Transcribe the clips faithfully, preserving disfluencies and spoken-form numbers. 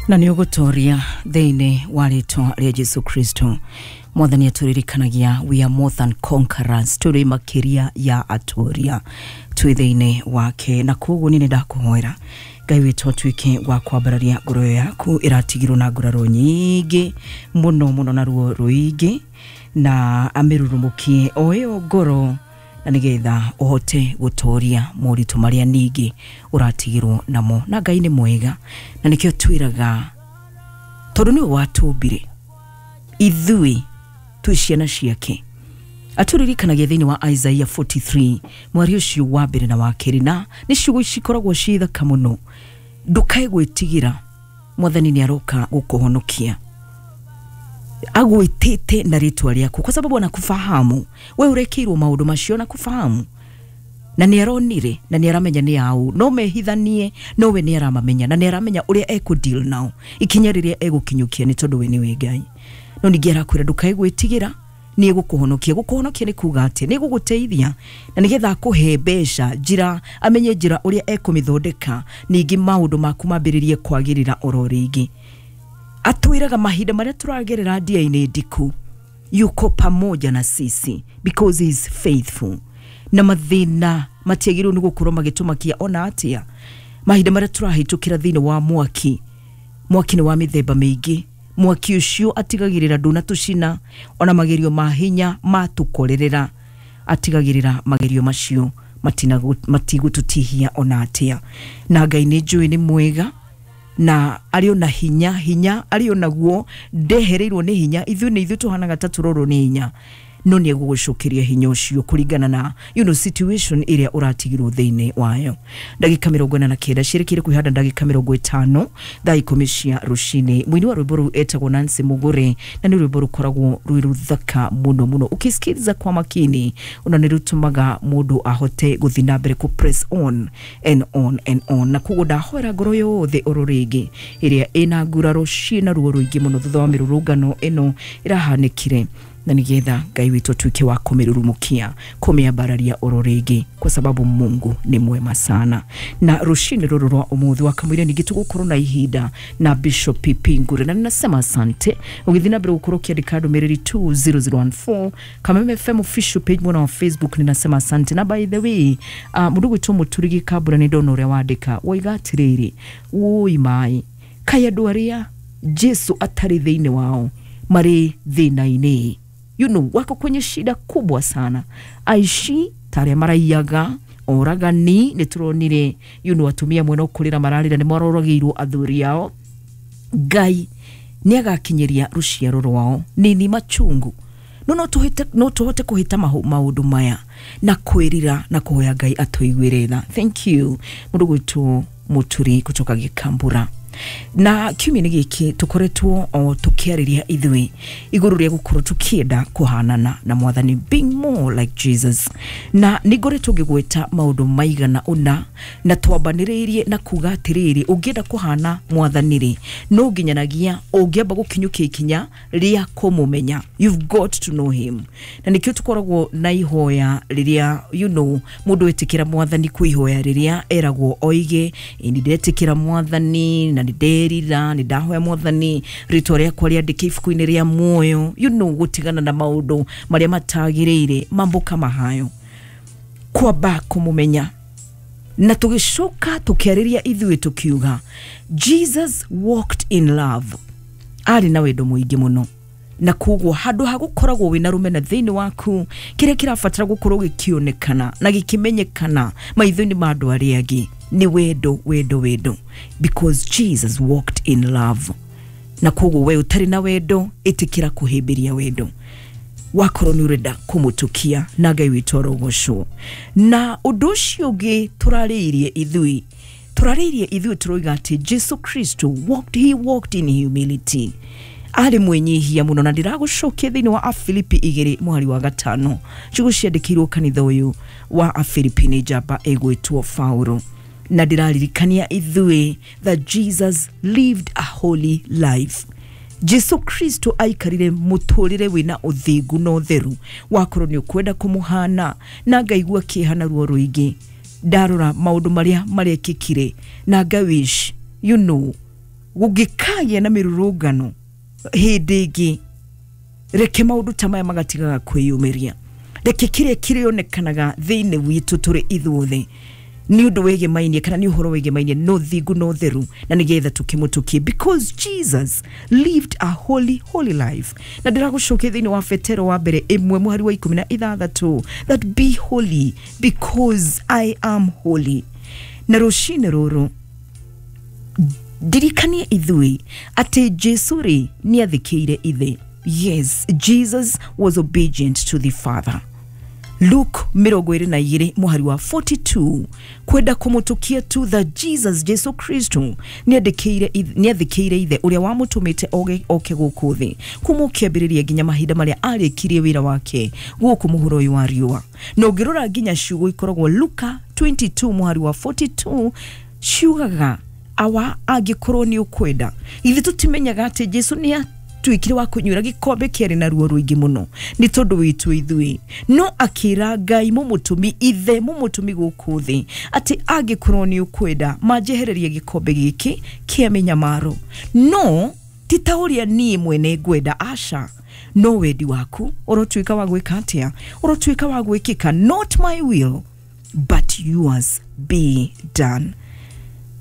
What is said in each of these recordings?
Na nĩ ũgũtoria thĩinĩ wa rĩtwa rĩa Jesu Kristo. Mwathani atũririkanagia we are more than conquerors, tũrĩ makĩria ya atoria twĩ thĩinĩ wake. Na koguo niĩ nĩ ndakũhoera Ngai witũ atuĩke wa kwambararia ngoro yaku ĩratigirwo na nguraro nyingĩ mũno mũno na ruo rũingĩ, na amĩrurumũkie o ĩyo ngoro, na nĩgetha ũhote gũtoria moritũ marĩa ningĩ ũratigirwo namo. Na Ngai nĩ mwega, na nĩkĩo twĩraga tondũ nĩwe watũmbire ithuĩ twĩ ciana ciake. Atũririkanagia thĩinĩ wa Isaiah forty-three mwari ũcio wa mbere na wa kerĩ, na nĩ ciugo cikoragwo ciĩ thaka mũno. Ndũkae gwĩtigĩra, Mwathani nĩ aroka gũkũhonokia, agwĩtĩte na rĩtwa rĩaku, kwa sababu anakufahamu we ũrekĩirwo maũndũ macio, anakufahamu na nĩ aronire na nĩ aramenya nĩ au no mehithanie, no we nĩ aramamenya na nĩ aramenya ũrĩa ekũ deal nao ikinya rĩrĩa egũkinyũkia, nĩ tondũ we nĩwe Ngai. No ningĩ arakwĩra ndũkae gwĩtigĩra, nĩ egũkũhonokia. Gũkũhonokia nĩ kuga atĩ nĩ egũgũteithia na nĩgetha akũhe mbeca, njĩra amenye njĩra ũrĩa ekũmĩthondeka, ningĩ maũndũ maku mambĩrĩrie kwagĩrĩra oro rĩngĩ. Atwĩraga mahinda marĩa tũragerera ndia-inĩ ndiku, yuko pamoja na sisi because he is faithful. Na mathĩna matiagĩrĩirwo nĩ gũkorwo magĩtũmakia ona atĩa. Mahinda marĩa tũrahĩtũkĩra thĩinĩ wa mwaki, mwaki nĩ wa mĩthemba mĩingĩ. Mwaki ũcio atigagĩrĩra ndũnatũcina, ona magerio ma hinya matũkorerera, atigagĩrĩra magerio macio matigũtũtihia ona atĩa. Na Ngai nĩ njũĩ nĩ mwega na arĩ ona hinya, hinya arĩ onaguo ndehereirwo nĩ hinya. Ithuĩ nĩ ithuĩ tũhanaga ta tũrorwo nĩ hinya, no nĩ egũgũcokeria hinya ũcio kũringana na you know, situation ĩrĩa ũratigirwo thĩinĩ wayo. Ndagĩka mĩrongo ĩna na kenda ciĩrĩkĩire kwĩhanda ndagĩka mĩrongo ĩtano thaa ikũmi cia rũcinĩ. Mũini wa rwĩmbo rũu etagwo Nancy Mugure, na nĩ rwĩmbo rũkoragwo rwĩ rũthaka mũno mũno. Ũkĩsikiliza kwa makini ona nĩ rũtũmaga mũndũ ahote gũthiĩ na mbere kũ press on and on and on. Na koguo ndahoera ngoro yothe oro rĩngĩ ĩrĩa ĩna nguraro ciĩna ruo rũingĩ mũno thutha wa mĩrũrũngano ĩno ĩrahanĩkire, na nĩgetha Ngai witũ atuĩke wa kũmĩrurumukia, kũmĩambararia oro rĩngĩ, kwa sababu Mungu ni mwema sana. Na rũcinĩ rũrũ rwa ũmũthĩ wa kamũira ningĩ tũgũkorwo na ihinda na Bishop P P Ngure, na ninasema asante ũgĩthiĩ na mbere gũkorwo ũkĩandĩka ndũmĩrĩri two zero zero one four Kameme F M official page mwena wa Facebook. Ninasema asante. Na by the way, uh, mũndũ gwĩtwo Mũturi Gĩkambura nĩ ndona ũrĩa wandĩka, woiga atĩrĩrĩ, wũi maĩ kaĩ andũ arĩa Jesu atarĩ thĩinĩ wao marĩ thĩna-inĩ, you know, wako kwenye shida kubwa sana. Aishi tarĩa maraiyaga, oragani nĩ tũronire, you know, atumia mwena ũkũrĩra mararĩra nĩ maroragĩirwo athuri ao. Ngai nĩ agakinyĩria rũciaro rwao nini machungu. No no tũhĩte, no tũhote kũhĩta maũndũ maya na kwĩrira na kũhoya Ngai atũiguĩre tha. Thank you mũndũ gwĩtwo Mũturi kutoka Gĩkambura. Na kiumia-inĩ gĩkĩ tũkoretwo o tũkĩarĩria ithuĩ igũrũ rĩa gũkorwo tũkĩenda kũhanana na Mwathani, being more like Jesus. Na nĩ ngoretwo ngĩgweta maũndũ maigana ũna, na twambanĩrĩirie na kuga atĩrĩrĩ, ũngĩenda kũhana Mwathani rĩ, no nginyanagia ũngĩamba gũkinyũkia ikinya rĩa kũmũmenya. You've got to know him. Na nĩkĩo tũkoragwo na ihoya rĩrĩa, you know, mũndũ etĩkĩra Mwathani, kwĩ ihoya rĩrĩa eragwo oige, nĩ ndetĩkĩra Mwathani na nderira, nĩ ndahoya Mwathani rĩtwa rĩakwa rĩandĩke ibuku-inĩ rĩa muoyo, you know, gũtigana na maũndũ marĩa matagĩrĩire, mambo kama hayo, kwamba kũmũmenya. Na tũgĩcoka tũkĩarĩria ithuĩ tũkiuga Jesus walked in love, arĩ na wendo mũingĩ mũno, na koguo handũ ha gũkoragwo wĩna rũmena thĩinĩ waku, kĩrĩa kĩrabatara gũkorwo gĩkĩonekana na gĩkĩmenyekana maitho-inĩ ma andũ arĩa angĩ nĩ wendo, wendo, wendo, because Jesus walked in love. Na koguo we ũtarĩ na wendo, ĩtĩkĩra kũhĩmbĩria wendo wakorwo nĩ ũrenda kũmũtũkia, na Ngai witũ arogocwo. Na ũndũ ũcio ũngĩ tũrarĩirie ithuĩ, tũrarĩirie ithuĩ tũroiga atĩ Jesu Kristo walked, he walked in humility, arĩ mwĩnyihia mũno. Na ndĩragũcokia thĩinĩ wa Afilipi igĩrĩ mwari wa gatano, ciugo ciandĩkĩirwo kanitha ũyũ wa Afilipi nĩ njamba ĩgwĩtwo Paulo. Na ndĩraririkania ithuĩ that Jesus lived a holy life. Jesu Kristo aikarire mũtũrĩre wĩna ũthingu na ũtheru, wakorwo nĩ ũkwenda kũmũhana, na ngaigua kĩeha na ruo rũingĩ ndarora maũndũ marĩa marekĩkire, na ngawish, you know, Gũngĩkagĩa na mĩrũrũngano hĩndĩ ĩngĩ, reke maũndũ ta maya magatigaga kwĩyumĩria. Reke kĩrĩa kĩrĩonekanaga thĩinĩ witũ tũrĩ ithuothe nĩ ũndũ wĩgĩmainie kana nĩ ũhoro wĩgĩmainie no thingu no theru, na nĩgetha tũkĩmũtũkie, because Jesus lived a holy holy life. Na ndĩragũcokia thĩinĩ wa Petero wa mbere ĩmwe mũhari wa ikũmi na ithathatũ, that be holy because I am holy. Na rũcinĩ rũrũ ndirikanie ithuĩ atĩ Jesu rĩ nĩathĩkĩire ithe. Yes, Jesus was obedient to the Father. Luke mĩrongo ĩrĩ na igĩrĩ mũhari wa forty-two, kwenda kũmũtũkia tu that Jesus, Jesu Kristo, nĩathĩkĩire ithe ũrĩa wamũtũmĩte oke gũkũ thĩ, kuma ũkĩambĩrĩria nginya mahinda marĩa arĩkirie wĩra wake gũkũ mũhuro ũyũ wa riũa. Na ũngĩrora nginya ciugo ikoragwo Luka twenty-two mũhari wa forty-two ciugaga awa angĩkorwo nĩ ũkwenda. Ithuĩ tũtimenyaga atĩ Jesu nĩ tuikire wa kunyura gikombe kĩarĩ na ruo rũingĩ mũno nĩ tondũ witũ ithuĩ, no akĩra Ngai mũmũtũmi ithe mũmũtũmi gũkũ thĩ atĩ angĩkorwo nĩ ũkwenda manjehererie gĩkombe gĩkĩ kĩa mĩnyamaro, no ti ta ũrĩa niĩ mwene ngwenda, aca, no wendi waku ũrotuĩka wa gwĩka atĩa, ũrotuĩka wa gwĩkĩka, not my will but yours be done.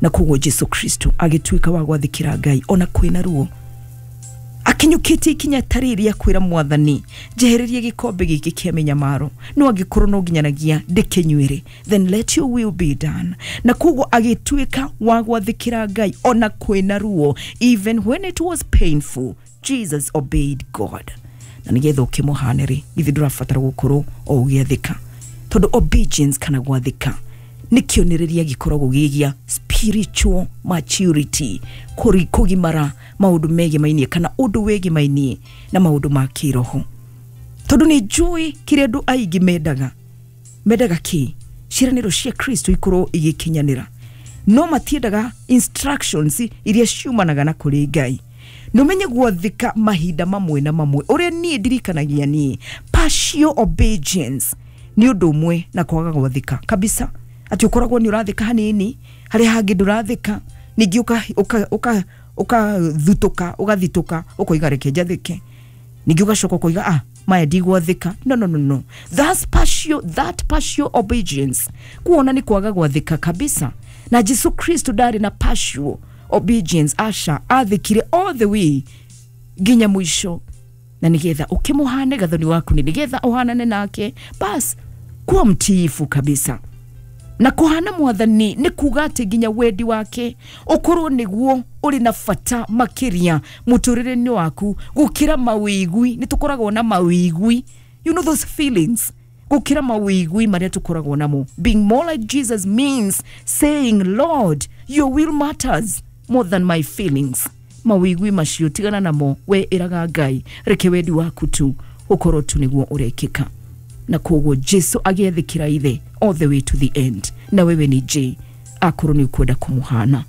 Na koguo Jesu Kristo agĩtuĩka wa gwathĩkĩra Ngai ona kwĩna ruo, akinyũkĩtie ikinya ta rĩrĩ kwĩra mwathani njehererie gĩkombe gĩkĩ kĩa mĩnyamaro, no angĩkorwo no nginyanagia ndĩkĩnyuĩre, then let your will be done. Na koguo agĩtuĩka wa gwathĩkĩra Ngai ona kwĩna ruo, even when it was painful, Jesus obeyed God. Na nĩgetha ũkĩmũhane rĩ, ithuĩ ndũrabatara gũkorwo o ũgĩathĩka, tondũ obedience kana gwathĩka nĩ kĩonereria gĩkoragwo gĩ gĩa spiritual maturity, kũri kũgimara maũndũ megemainie kana ũndũ wĩgemainie na maũndũ ma kĩroho. Tondũ nĩ njũĩ kĩrĩa andũ aingĩ mendaga, mendaga kĩ ciĩranĩro cia Kristo ikorwo igĩkinyanĩra, no matiendaga instructions iria ciumanaga na kũrĩ Ngai. Nũmenye gwathĩka mahinda mamwe na mamwe, ũrĩa niĩ ndirikanagia niĩ partial obedience nĩ ũndũ ũmwe na kwaga gwathĩka kabisa, atĩ ũkoragwo nĩ ũrathĩka hanini harĩa hangĩ ndũrathĩka, ningĩ ũka ũka ũka ũkathutũka ũgathitũka ũkoiga reke njathĩke, ningĩ ũgacoka ũkoiga ah maya ndigwathĩka. No, no, no, no, that's partial, that partial obedience kuona nĩ kwaga gwathĩka kabisa. Na Jesu Kristo ndarĩ na partial obedience, aca, athĩkire all the way nginya mũico, na nĩgetha ũkĩmũhane gathoni waku, nĩ nĩgetha ũhanane nake, bas kuwa mtiifu kabisa. Na kuhana mwathani nĩ kuga atĩ nginya wendi wake ũkorwo nĩguo ũrĩ na bata makĩria mũtũrĩre-inĩ waku gũkĩra mawĩigwi. Nĩ tũkoragwo na mawĩigwi, you know those feelings, gũkĩra mawĩigwi marĩa tũkoragwo namo. Being more like Jesus means saying, Lord, your will matters more than my feelings. Mawĩigwi macio tigana namo, we ĩraga Ngai reke wendi waku tu ũkorwo tu nĩguo ũrekĩka. Na koguo Jesu agĩathĩkĩra ithe all the way to the end. Na wewe ni je akorwo nĩ ũkwenda kũmũhana?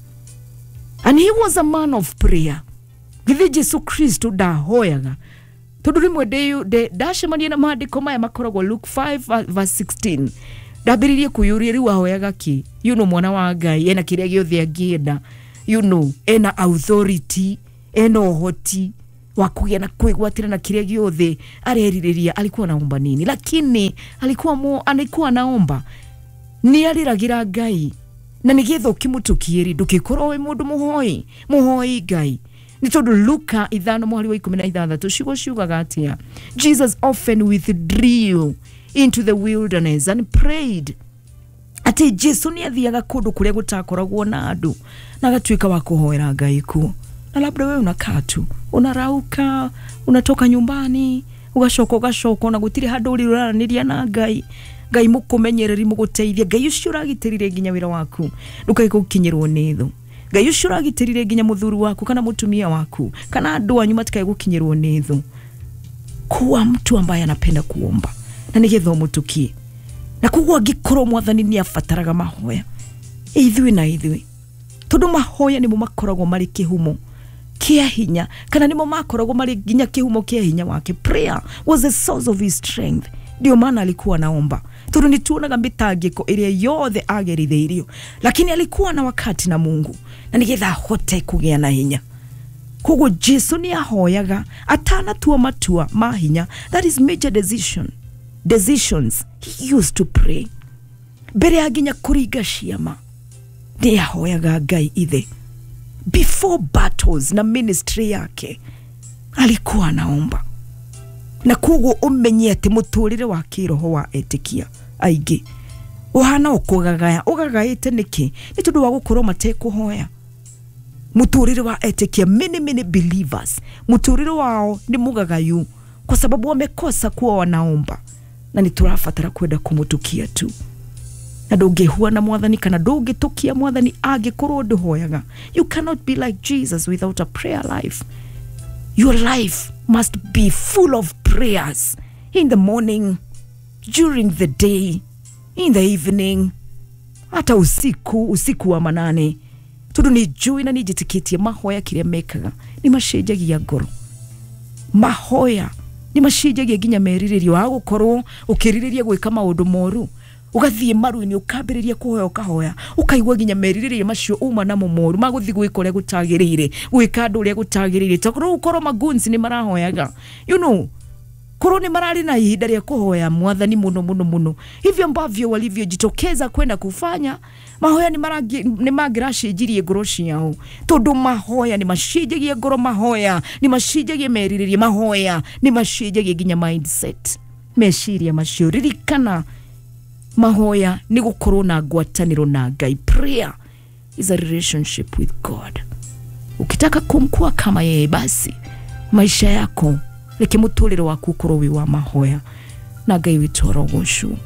And he was a man of prayer. Githĩ Jesu Kristo ndahoyaga? Tondũ rĩmwe ndacemania na maandĩko maya makoragwo Luke five verse sixteen, ndambĩrĩirie kwĩyũria rĩu ahoyaga kĩ? You know, mwana wa Ngai ena kĩrĩa gĩothe angĩenda, you know, ena authority, ena ũhoti wa kũgĩa na kwĩgwatĩra na kĩrĩa gĩothe arerirĩria. Alikuwa anaomba nini? Lakini alikuwa mo, alikuwa anaomba nĩ arĩragĩra Ngai, na nĩgetha ũkĩmũtũkie rĩ ndũgĩkorwo wĩ mũndũ mũhoi mũhoi Ngai. Nĩ tondũ Luka ithano mũhari wa ikũmi na ithathatũ ciugo ciugaga atĩa? Jesus often withdrew into the wilderness and prayed. Atĩ Jesu nĩ athiaga kũndũ kũrĩa gũtakoragwo na andũ na agatuĩka wa kũhoera Ngai kuo. Na labda wewe unakaa tu, unarauka, unatoka nyumbani, ugacoka ugacoka na gũtirĩ handũ ũrĩ ũraranĩria na Ngai. Ngai mũkũmenyereri mũgũteithia, Ngai ũcio ũragitĩrire nginya wĩra waku ndũkae gũkinyĩrwo nĩ thũ, Ngai ũcio ũragitĩrire nginya mũthuri waku kana mũtumia waku kana andũ anyu matikae gũkinyĩrwo nĩ thũ. Kuwa mtu ambaye anapenda kuomba na nĩgetha ũmũtũkie. Na koguo angĩkorwo mwathani nĩ abataraga mahoya, ithuĩ na ithuĩ, tondũ mahoya nĩmo makoragwo marĩ kĩhumo kĩa hinya, kana nĩmo makoragwo marĩ nginya kĩhumo kĩa hinya wake. Prayer was the source of his strength. Ndio maana alikuwa anaomba. Tondu nĩ tuonaga mĩtangĩko ĩrĩa yothe agerithĩirio, lakini alikuwa na wakati na Mungu na nĩgetha ahote kũgĩa na hinya. Koguo Jesu nĩ ahoyaga atanatua matua ma hinya, that is major decision decisions he used to pray. Mbere ya nginya kũringa ciama nĩ ahoyaga Ngai ithe. Before battles na ministry yake alikuwa anaomba. Na koguo umenye atĩ mũtũrĩre wa kĩroho wa etĩkia aingĩ ũhana ũkũgagaya ũgagaĩte nĩkĩ? Nĩ tondũ wa gũkorwo matekũhoya. Mũtũrĩre wa etĩkia, many many believers, mũtũrĩre wao nĩ mũgagayu kwa sababu wamekosa kuwa wanaomba. Na nĩ tũrabatara kwenda kũmũtukia tu. Na ndũngĩhua na mwathani kana ndũngĩtũkia mwathani angĩkorwo ndũhoyaga. You cannot be like Jesus without a prayer life. Your life must be full of prayers in the morning, during the day, in the evening, hata usiku, usiku wa manane. Tondu nĩ njũĩ na nĩ njĩtĩkĩtie mahoya kĩrĩa mekaga nĩ macenjagia ngoro. Mahoya nĩ macenjagia nginya merirĩrio wa gũkorwo ũkĩrirĩria gwĩka maũndũ moru. Ũgathiĩ maru-inĩ ũkambĩrĩria kũhoya ũkahoya ũkaigua nginya merirĩria macio uma namo moru magũthiĩ gwĩka ũrĩa gũtagĩrĩire, gwĩka andũ ũrĩa gũtagĩrĩire. Tondũ ũkorwo maguns nĩ marahoyaga, you know, korwo nĩ mararĩ na ihinda rĩa kũhoya mwathani mũno mũno mũno, hivyo ambavyo walivyojitokeza kwenda kufanya mahoya nĩ marangi nĩ mangĩracenjirie ngoro ciao. Tondũ mahoya nĩ macenjagia ngoro, mahoya nĩ macenjagia merirĩria, mahoya nĩ macenjagia nginya mindset, meciria macio. Ririkana mahoya nĩ gũkorwo na ngwatanĩro na Ngai. Prayer is a relationship with God. Ukitaka kumkua kama yeye, basi maisha yako reke mũtũrĩre waku ũkorwo wĩ wa mahoya na Ngai witũ arogocwo.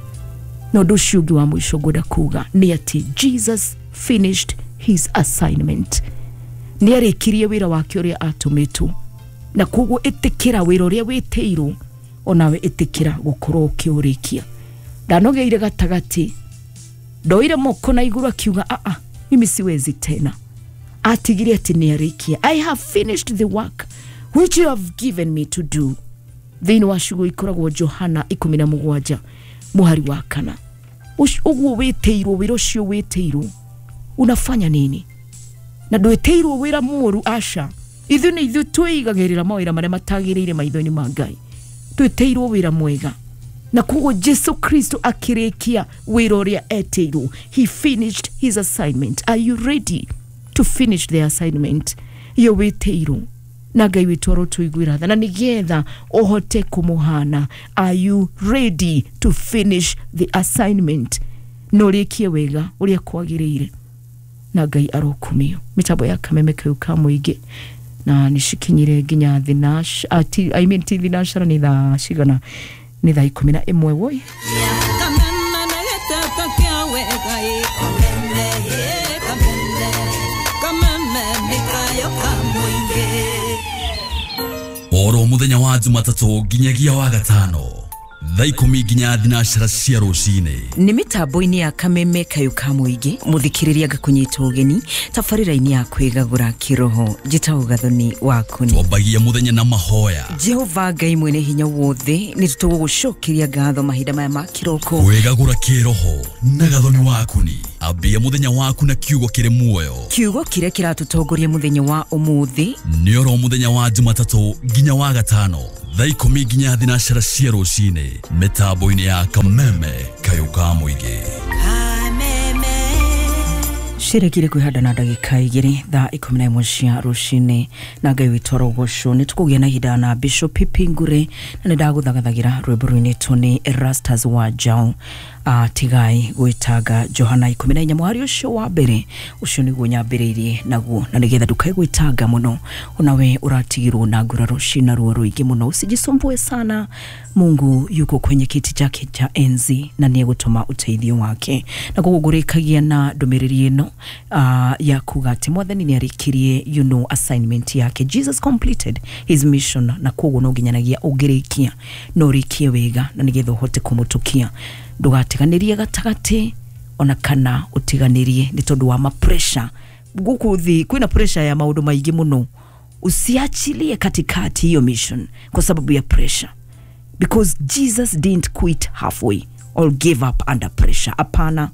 Na ũndũ ũcio ũngĩ wa mũico ngwenda kuga nĩ atĩ Jesus finished his assignment. Nĩ arĩkirie wĩra wake ũrĩa atũmĩtwo, na koguo ĩtĩkĩra wĩra ũrĩa wĩtĩirwo, onawe ĩtĩkĩra gũkorwo ũkĩũrĩkia. Ndanogeire gatagatĩ, ndoire moko na igũrũ akiuga a a mimi siwezi tena. Atigire atĩ nĩ arĩkia. I have finished the work which you have given me to do. Thĩinĩ wa ciugo ikoragwo Johana ikũmi na mũgwanja mũhari wa kana. Ũguo wĩtĩirwo wĩra ũcio wĩtĩirwo unafanya nini? Na ndwĩtĩirwo wĩra mũru, aca. Ithuĩ nĩ ithuĩ twĩigagĩrĩra mawĩra marĩa matagĩrĩire maitho-inĩ ma Ngai. Twĩtĩirwo wĩra mwega. Na koguo Jesu Kristo akĩrĩkia wĩra ũrĩa etĩirwo. He finished his assignment. Are you ready to finish the assignment iyo wĩtĩirwo? Na Ngai witũ arotũiguĩra tha na nĩgetha ũhote kũmũhana. Are you ready to finish the assignment? Na ũrĩkie wega ũrĩa kwagĩrĩire, na Ngai arokumio. Mĩtambo ya Kameme kau ka mũingĩ na nĩcikinyire nginya thinacara, I mean ti thinacara, nĩ thaa cigana? Nĩ thaa ikũmi na ĩmwe woi. Oro muthenya wa Jumatatũ nginyagia wa gatano thaa ikũmi nginya thinacara cia rũcinĩ. Nĩ mĩtambo-inĩ ya Kameme kayũ ka mũingĩ mũthikĩrĩria ngakũnyita ũgeni tabarĩra-inĩ ya kwĩgagũra kĩroho. Njĩtagwo Gathoni waku. Twambagia mũthenya na mahoya. Jehova Ngai mwene hinya wothe, nĩ tũgũgũcokeria ngatho mahinda maya ma kĩroko. Kwĩgagũra kĩroho na Gathoni waku ni ambia mũthenya waku na kiugo kĩrĩ muoyo, kiugo kĩrĩa kĩratũtongoria mũthenya wa ũmũthĩ. Nĩ oro mũthenya wa Jumatatũ nginya wa gatano thaa ikũmi nginya thinacara cia rũcinĩ mĩtambo-inĩ ya Kameme kayũ ka mũingĩ. Cirekire kwĩhanda na ndagĩka igĩrĩ thaa ikũmi na ĩmwe cia rũcinĩ na Ngai witũ arogocwo. Nĩ tũkũgĩa na ihinda na Bishop Pipi Ngure na nĩ ndagũthagathagĩra rwĩmbo rũinĩtwo nĩ Erastus wa Njau, uh, tigai gwĩtanga, Johana ikũmi na inya mũhari ũcio wa mbere. Ũcio nĩguo nyambĩrĩirie naguo, na nĩgetha ndũkae gwĩtanga mũno, onawe ũratigirwo na nguraro cina ruo rũingĩ mũno. Usijisumbue sana, Mungu yuko kwenye kiti chake cha enzi na nĩ egũtũma ũteithio wake. Na koguo ngũrĩkagia na ndũmĩrĩri ĩno uh, ya kuga atĩ mwathani nĩ arĩkirie you know, assignment yake. Jesus completed his mission, na koguo no nginyanagia ũngĩrĩkia no ũrĩkie wega na nĩgetha ũhote kũmũtũkia. Ndũgatiganĩrie gatagatĩ ona kana ũtiganĩrie nĩ tondũ wa ma pressure gũkũ thĩ. Kwĩna pressure ya maũndũ maingĩ mũno. Usiachilie katikati hiyo mission kwa sababu ya pressure, because Jesus didn't quit halfway. or give up under pressure. Apana.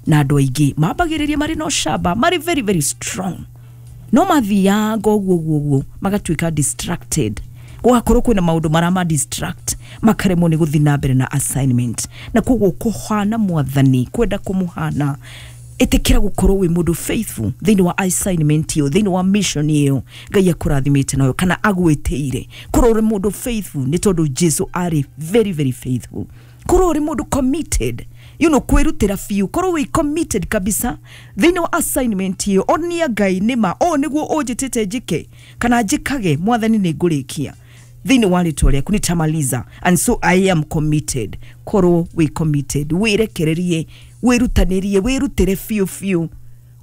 Na andũ aingĩ mambagĩrĩria marĩ na ũcamba, marĩ very very strong, no mathiaga ũguo ũguo ũguo magatuĩka distracted, gũgakorwo kwĩna maũndũ marama distract, makaremwo nĩ gũthiĩ na mbere na assignment. Na koguo kũhana mwathani, kwenda kũmũhana, ĩtĩkĩra gũkorwo wĩ mũndũ faithful thĩinĩ wa assignment ĩyo, thĩinĩ wa mission ĩyo Ngai akũrathimĩte nayo kana agwĩtĩire. Korwo ũrĩ mũndũ faithful nĩ tondũ Jesu arĩ very very faithful. Korwo ũrĩ mũndũ committed, you know, kwĩrutĩra biũ, korwo wĩ committed kabisa thĩinĩ wa assignment ĩyo, onia Ngai nĩma ũũ nĩguo ũnjĩtĩte njĩke kana njĩkage, mwathani nĩ ngũrĩkia thĩinĩ wa rĩtwa rĩaku, nitamaliza, and so I am committed. Korwo wĩ committed, wĩrekererie, wĩrutanĩrie, wĩrutĩre biũ biũ,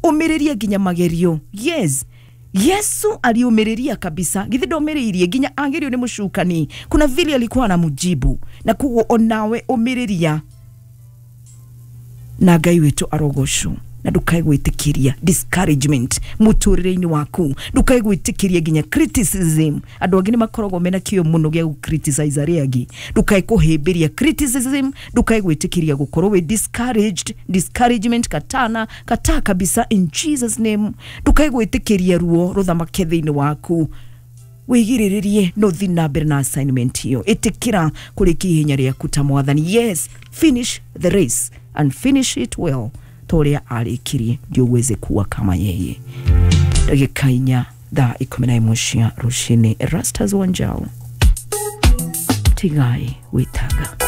ũmĩrĩrie nginya magerio. Yes, Yesu aliumiria kabisa, githi ndomĩrĩirie nginya agerio nĩ mũcukani, kuna vile alikuwa anamjibu. Na koguo onawe ũmĩrĩria na Ngai witũ arogocwo. Na ndukae gwĩtĩkĩria discouragement mũtũrĩre-inĩ waku, ndukae gwĩtĩkĩria nginya criticism. Andũ angĩ nĩ makoragwo mena kĩo mũno gĩa gũ-criticize arĩa angĩ. Ndukae kũhĩmbĩria criticism, ndukae gwĩtĩkĩria gũkorwo wĩ discouraged. Discouragement katana kataa kabisa in Jesus name. Ndukae gwĩtĩkĩria ruo rũthamake thĩinĩ waku, wĩgirĩrĩrie no thiĩ na mbere na assignment ĩyo. Ĩtĩkĩra kũrĩkia ihenya rĩaku ta mwathani. Yes, finish the race and finish it well, ta ũrĩa arĩkirie, ndio uweze kuwa kama yeye. Ndagĩka inya thaa ikũmi na ĩmwe cia rũcinĩ. Erastus Wanjao, tigai wĩtanga.